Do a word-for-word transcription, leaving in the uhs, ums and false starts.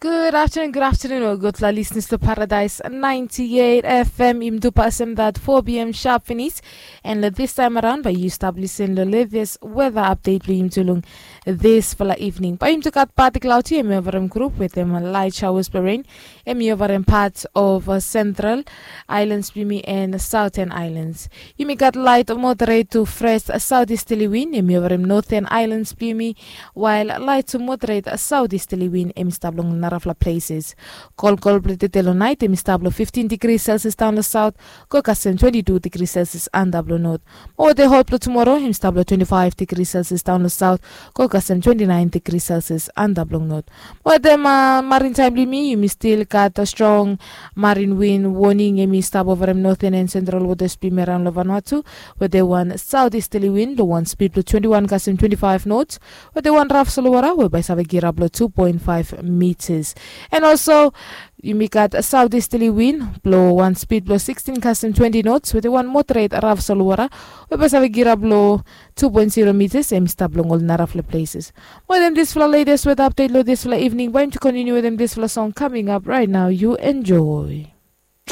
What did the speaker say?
Good afternoon, good afternoon, o gutpela listeners to Paradise ninety-eight F M. Im tu pasem that four p m sharp finish. And lo this time around, by yu stap listen lo latest weather update blo im tu long this fala evening. By im tu gat party cloudy, em over im group with em light showers blo rain. Em over im parts of uh, central islands blo yumi and southern islands. Yumi gat light moderate to fresh southeasterly wind, em over im northern islands blo yumi, while light to moderate southeasterly wind em stap long narafla places. Kolkol blo tete lo night em stap lo fifteen degrees Celsius down lo south, go kasem twenty-two degrees Celsius under blo north. Mo wete hot blo tomorrow em stap lo twenty-five degrees Celsius down lo south, go kasem twenty-nine degrees Celsius under blo north. Wetem uh, marin time blo yumi, yumi still gat a strong marin wind warning, em i stap over em northern and central waters blo yumi around lo Vanuatu, wetem wan southeasterly wind lo wan speed blo twenty-one kasem twenty-five knots, wetem wan raf solowara we bai save kirap lo two point five meters. And also, yumi gat southeasterly wind blo wan speed blo sixteen kasem twenty knots, wetem wan moderate raf solowara we bai save kirap lo two point zero meters, em stap long ol narafla places. Wetem disfala latest weather update lo disfala evening, bai yumi continue wetem disfala song coming up right now. You enjoy.